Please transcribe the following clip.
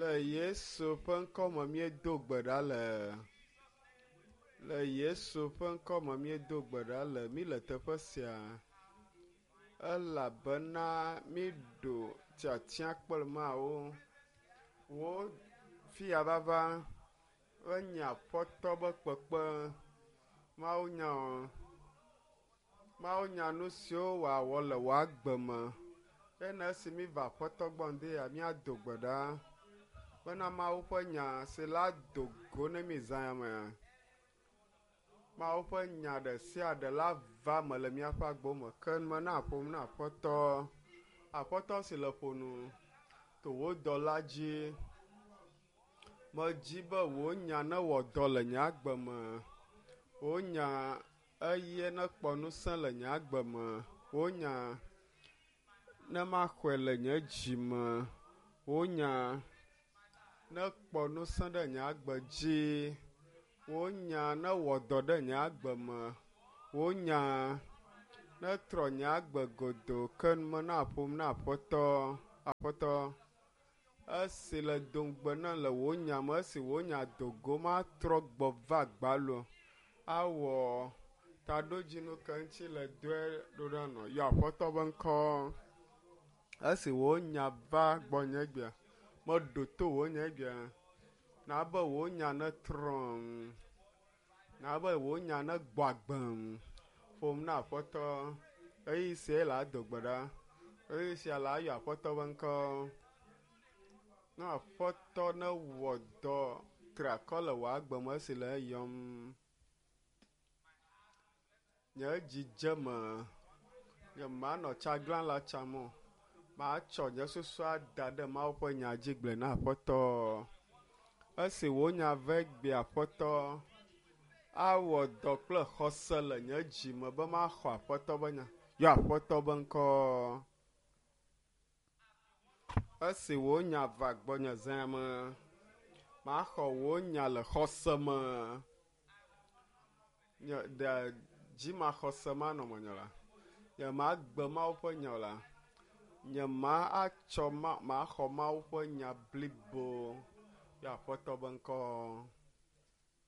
Le Yesu ƒe ŋkɔ me míedo gbe ɖa le. Le Yesu ƒe ŋkɔ me míedo gbe ɖa le. Míle teƒe sia elabena míɖo tiatia kple Mawu. Wo fiya vava enye Aƒetɔ be kpekpe. Mawu nya o. Mawu nya nu siwo wòawɔ le wò agbe me. Ena esi míva Aƒetɔ gbɔ ŋdi ya míado gbe ɖa bena Mawu ƒe nya si la do go ne mí zã ya mea. Mawu ƒe nya ɖe sia ɖe la va me le míaƒe agbo me. Ke mena ƒom na Aƒetɔ. Aƒetɔ si le ƒo nu to wò dɔla dzi. Medzi be wò nya newɔ dɔ le nye agbe me. Wò nya eye nekpɔ ŋusẽ le nye agbe me. Wò nya ne maxɔe le nye dzi me. Wò nya nekpɔ ŋusẽ ɖe nye agbe dzi. Wò nya newɔ dɔ ɖe nye agbe me. Wò nya netrɔ nye agbe godoo ke mena ƒom na Aƒetɔ. Aƒetɔ, esi le do ŋugbe nam le wò nya me, esi wò nya do go matrɔ gbɔ va gbalo awɔ taɖodzinu ke ŋuti le dɔe ɖo ɖa nɔ. Yɔ Aƒetɔ be ŋkɔ. Esi wò nya va gbɔnye egbea, meɖo to wò nya egbea. Na be wò nya netrɔm. Na be wò nya negbɔ agbem. Ƒom na Aƒetɔ. Ɣeyiɣi sia le ado gbe ɖa. Ɣeyiɣi sia le ayɔ Aƒetɔ be ŋkɔ. Na Aƒetɔ newɔ dɔ triakɔ le wò agbe me esi le eyɔm. Nye dzi dze eme. Nyemanɔ tsaglãla tsam o. Matsɔ nye susu ada ɖe Mawu ƒe nya dzi gblɔe na Aƒetɔ. Esi wò nya va egbea Aƒetɔ, awɔ dɔ kple xɔse le nye dzi me be maxɔ Aƒetɔ be nya. Yɔ Aƒetɔ be ŋkɔ. Esi wò nya va gbɔnye zã me, maxɔ wò nya le xɔse me. Nye ɖe dzimaxɔse manɔ menye la, nye magbe Mawu ƒe nya o la, nye ma atsɔ ma maxɔ Mawu ƒe nya blibo. Yɔ Aƒetɔ be ŋkɔ.